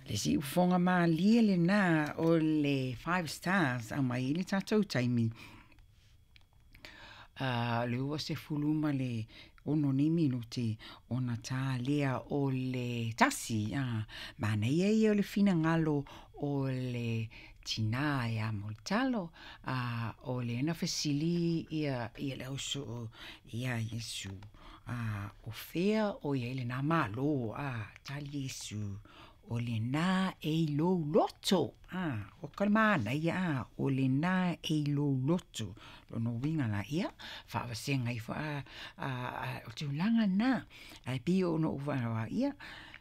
Le siufofoga malie lenā o le Five Stars aumai ai le tatou taimi le 26 nei minute ona ta lea o le 1. Manaia ia o le finagalo o le tinā ia Mulitalo, o lea na fesili ia le ausoo iā Iesu, o fea o i ai lenā Malo, tali Iesu, o lenā e i lou loto. O ka manaia, o lenā e i lou loto. Lona uiga la ia, faavasega ifo o tulaga na, ae pei ona ou ia,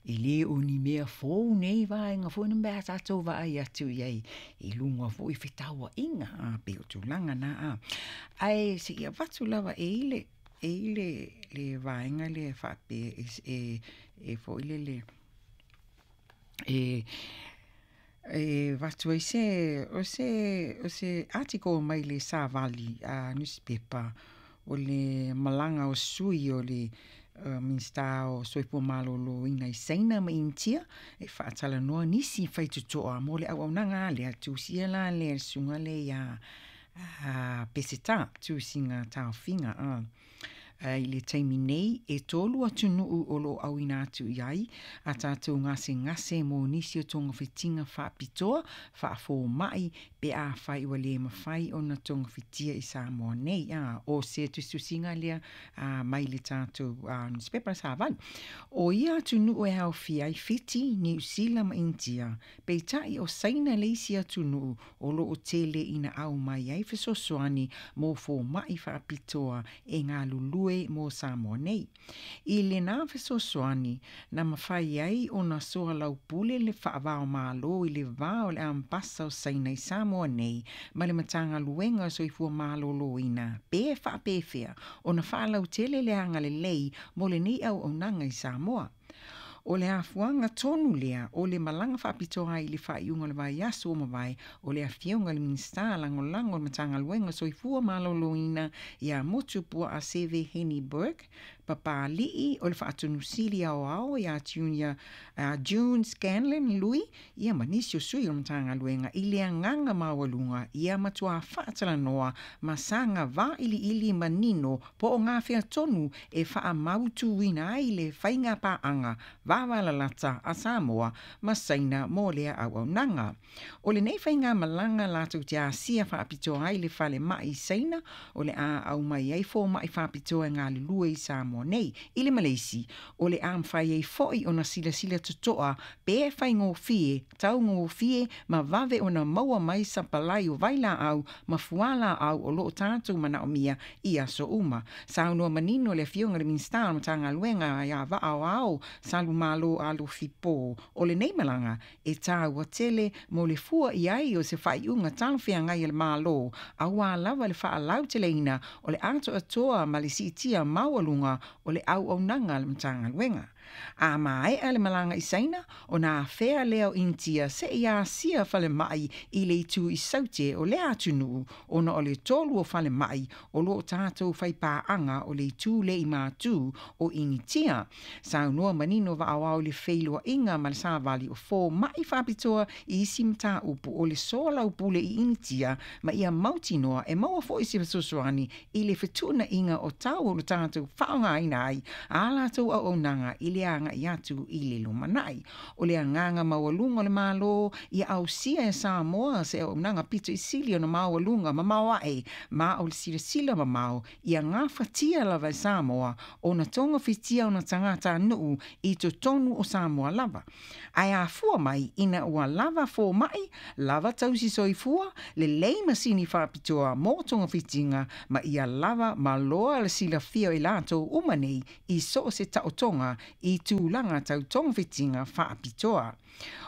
e le o ni mea fou nei vaega foi nei pe a tatou vaai atu i ai i luga foi o fetauaiga, pei o tulaga na. Ae seia avatu lava e i ai le vaega lea e faapea e foi lele e avatu ai se o se o se article mai le Savali newspaper o le malaga o sui o le Minisita o Soifua Maloloina i Saina ma Initia e faatalanoa nisi faitotoa mo le auaunaga lea tusia la lea le susuga lea ia Peseta tusiga taofiga. I le taimi nei e 3 atunuu o loo auina atu i ai a tatou gasegase mo nisi o togafitiga faapitoa faafomai pe afai ua le mafai ona togafitia i Samoa nei. O se tusitusiga lea mai le tatou newspaper Savali. O ia atunuu e aofia ai Fiti, Niu Sila ma Initia, peitai o Saina le isi atunuu o loo tele ina aumai ai fesoasoani mo fomai faapitoa e galulue mo Samoa nei. I lenā fesoasoani na mafai ai ona soalaupule le faavao malo i le va o le ambasa o Saina i Samoa nei ma le Matagaluega o Soifua Maloloina pe faapefea ona faalautele le agalelei mo lenei auaunaga i Samoa. O le afuaga tonu lea o le malaga faapitoa ai i le faaiuga o le vaiaso ua mavae o le afioga i le Minisita Lagolago o le Matagaluega o Soifua Maloloina ia Motu Puaa Seve Heni Burke, papali'i o le Faatonusili Aoao ia June Scanlon Lui, ia ma nisi o sui o le Matagaluega i le agaga maualuga ia matuā faatalanoa ma saga vailiili manino po o gafea tonu e faamautuina ai le faiga paaga vavalalata a Samoa ma Saina mo lea auaunaga. O lenei faiga malaga latou te asia faapitoa ai le falemai i Saina o le a aumai ai fomai faapitoa e galulue i Samoa nei. I le Maleisi, o le a mafai ai foi ona silasila totoa pe faigofie, taugofie ma vave ona maua mai sapalai o vailaau ma fualaau o loo tatou manaomia i aso uma. Saunoa manino le afioga i le Minisita o le Matagaluega ia Vaaoao Salumalo Alofi Po, o lenei malaga e taua tele mo le fua i ai o se faaiuga talafeagai a le Malo, auā lava le faalauteleina o le atoatoa ma le siitia maualuga o le auaunaga a le Matagaluega. A maea le malaga i Saina, ona afea lea o Initia seia asia falemai i le itu i Saute o lea atunuu ona o le 3 o falemai o loo tatou faipaaga o le itu lea i matu o Initia. Saunoa manino Vaaoao i le feiloaiga ma le Savali o fomai faapitoa i isi mataupu o le soalaupule i Initia ma ia mautinoa e maua foi se fesoasoani i le fetuunaiga o tau o le tatou faaaogaina ai a latou auaunaga i le agai atu i le lumanai. O le agaga maualuga o le Malo ia ausia e Samoa se auaunaga pito i sili ona maualuga mamao ae ma o le silasila mamao ia gafatia lava e Samoa ona togafitia ona tagatanuu i totonu o Samoa lava. Ae afua mai ina ua lava fomai, lava tausi soifua, lelei masini faapitoa mo togafitiga ma ia lava maloa le silafia o i latou uma nei i so o se taotoga i tulaga tau togafitiga faapitoa.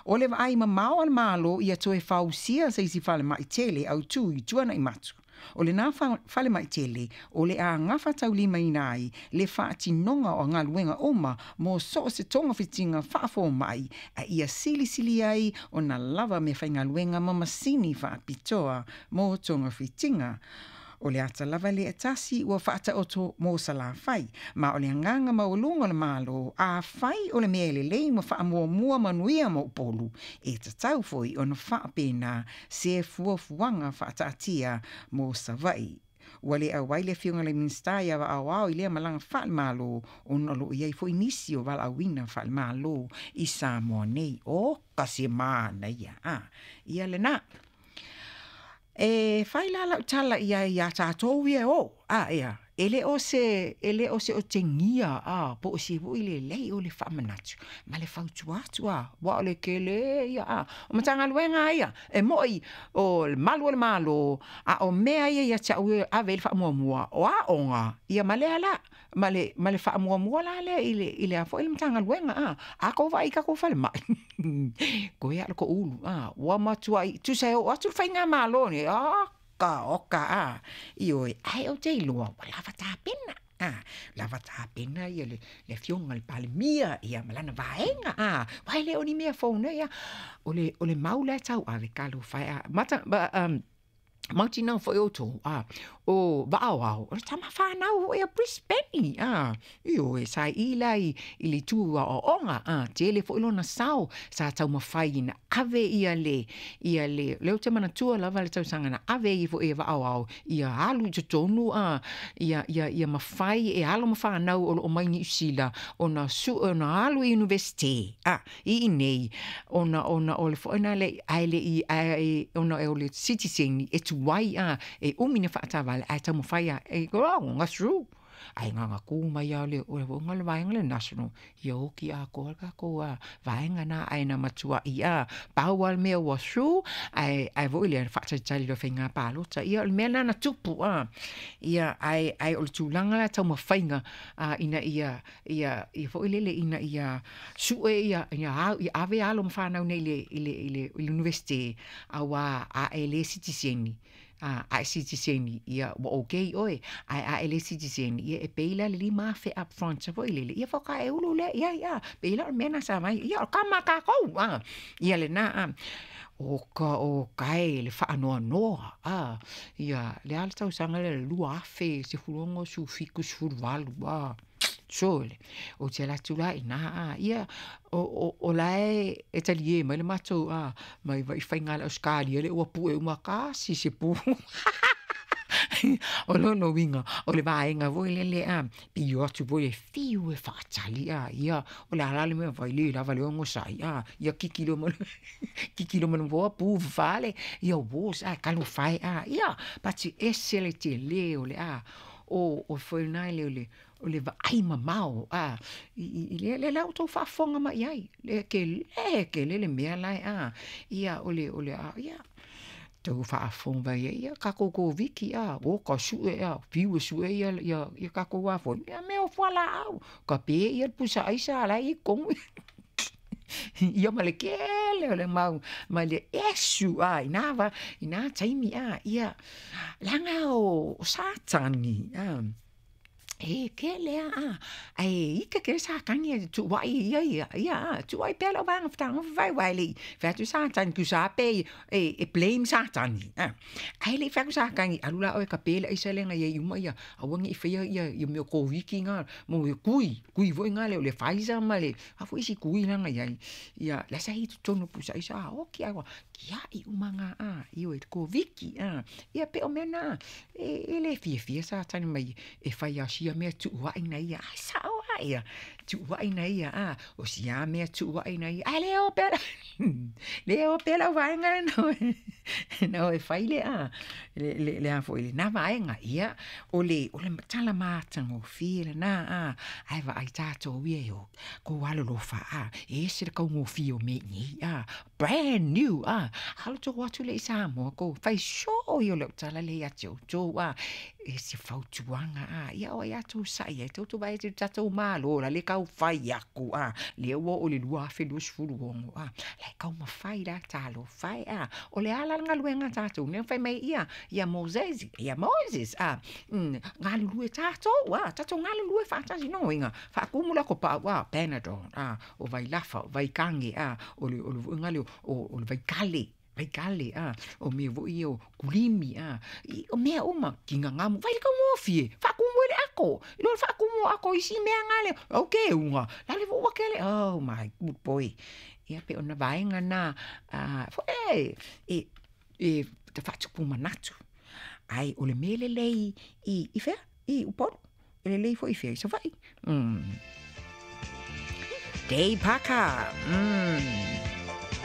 O le vaai mamao a le Malo ia toe fausia se isi falemai tele autū i Tuanai Matu. O lenā falemai tele o le a gafataulimaina ai le faatinoga o galuega uma mo so o se togafitiga faafomai a ia silisili ai ona lava meafaigaluega ma masini faapitoa mo togafitiga. O le ata lava lea e tasi ua faataoto mo Salafai, ma o le agaga maualuga o le Malo, afai o le mea e lelei ma faamuamua manuia mo Upolu, e tatau foi ona faapena se fuafuaga faataatia mo Savaii. Ua le auai le Afioga i le Minisita ia Vaaoao i lea malaga faale-Malo ona o lo o i ai foi nisi o valaauina faale-Malo i Samoa nei. Oka se manaia! A, ia lena. E fai la lau tala i ai iā tatou ia e o, a, ea, e le o se, e le o se otegia, a, po o se foi lelei o le faamanatu ma le fautua atu, a, aua o le tele ia, a, o Matagaluega lava ia, e moi o le malu o le Malo, a o mea ia ia te au ia e ave i ai le faamuamua, o aoga, ia ma lea la, ma le, ma le faamuamua la lea i le, i le a foi le Matagaluega, a. A tou vaai i tatou falemai, toe lava o le toulu, a, ua matuai, tusa e oo atu le faigamalo lenei, oka oka, a, ioe, ae ou te iloa ua lava tapena, a, lava tapena le Afioga i le Palemia ma lana vaega, a, aua e le o ni mea fou nei, a. O le mau la e tauave, talofa e, a, mautinoa foi outou, a, o Vaaoao, o le tama fanau foi a Bruce Penny, a, ioe, sa i la i le itu aoaoga, a, tele foi lona sao sa taumafai ina ave ia le, ia le, lea ou te manatua lava le tausaga na ave ai foi e Vaaoao ia alu i totonu, a, ia, ia, ia mafai e alo ma fanau o lo o mai Niu Sila ona sue, ona alu i Iunivesite, a. I inei, ona, ona o le foi na le, ae le i, ae, ona o le sitiseni e tuai a, e umi na faatavale, ae taumafai a, e, oh, na through. Ae na ona tu mai lava o le, o le foi le vaega le national, ia oti atoa le tatou vaega na, ae na matuai a, pau lava le mea ua through, ae, ae foi lea, faatalitali loa i faiga palota. Ia o le mea lena na tupu, a, ia, ae, ae o le tulaga la taumafaiga, a, ina ia, ia, ia foi lele ina ia sue ia, ia, au, ia ave alo ma fanau nei i le, i le, i le, i le Iunivesite, auā a e le sitiseni, a, a e sitiseni, ia ua okay oe, ae a e le sitiseni, ia e pay la le $5,000 up front foi lele, ia faatoa e ulu lea i ai, a, pei la o le mea lena sa vaai, ia o kama a tatou, a, ia lena, a. Oka oka e le faanoanoa, a, ia, le a le tausaga lea le 2016, 17, 18, a. Sole, ou te alu atu la i ina, a, ia, o la e talie mai le matou, a, mai vai faiga a le Ausetalia lea ua pue uma tasi se pu. O lona uiga, o le vaega foi lele, a, pei o atu foi e fiu e faatali, a, ia, o le a la le mea e fai, le lava le onosai, a, ia kiki loa ma le, kiki loa ma le nofoa pu fale, ia uos, a, talofa e, a, ia, pati ese le tele o le, a, o foi lena le, o le, o le vaai mamao, a, i lea, lea la ua outou faafofoga mai i ai, le tele tele le mea la e, a, ia, o le, o le, a, ia, outou faafofoga mai ai, ia tatou Koviti, a, o ka sue, a, fiu e sue ia, ia, ia tatou a foi, ia mea o fualaau, tape ia le pusa aisa la e i totonu. Ia ma le tele o le mau, ma le esu, a, i nā wā, i nā taimi, a, ia, leaga o Satani, a, E kele a, a, ae ike kele Satani e tuuaʻi ia ia, ia a, tuuaʻi pea lau vaega fetagofi fai aua e le i fai atu Satani tusa pe e, e blame Satani, a. Ae le i fai atu Satani, alu la oe e tape le aisa lea na iai uma ia, aua ne i faia ia, ia mea o Koviti na, mo ia kui, kui foi na lea o le Pfizer ma le a foi isi kui la na iai, ia la sa i totonu o pusa aisa, a oki a ua tiaʻi uma na, a, ioe, Koviti, a. Ia pei o mea na, e, e le fiafia Satani mai e fai a sia mea tuuaʻi na ia, ae sao a ia, tuuaʻi na ia, a, o sia mea tuuaʻi na ia, ae le o pea, le o pea lau vaega na na e fai le a, le, le, le a foi lena vaega, ia, o le, o le tala matagofie lena, a, ae vaai tatou ia e o, kou alolofa, a, e ese le kaugofie o mea i nei, a, brand new, a, alu tou atu lea i Samoa, kou fai soo ia o lau tala lea ia te outou, a, e se fautuaga, a, ia o ai a tou saʻi ai, tou vaai atu i le tatou Malo la le tau fai aku, a, lea ua oo i le 2026, a, la e taumafai la, talofa e, a, o le a la le galuega a tatou, lea na fai mai ia, ia Moses, ia Moses, a, galulue tatou, a, tatou galulue faatasi, lona uiga, faatumu le ato paau, a, Panadol, a, o vailafa, o vaikage, a, o le, o le foi lea o, o le vaikale. Vaikale, a, o mea foi ia o kulimi, a, i, o mea uma, kigagamu, fai le taugofie, faatumu ai le ato, i lo le faatumu o ato i isi mea na lea, au teuga, la le foi ua tele, oh my good boy. Ia pei ona vaega na, a, foi e, e, e faatupu manatu. Ae o le mea lelei i, i fea? I Upolu. E lelei foi i fea? I Savaii. Mm. Dave Parker. Mm.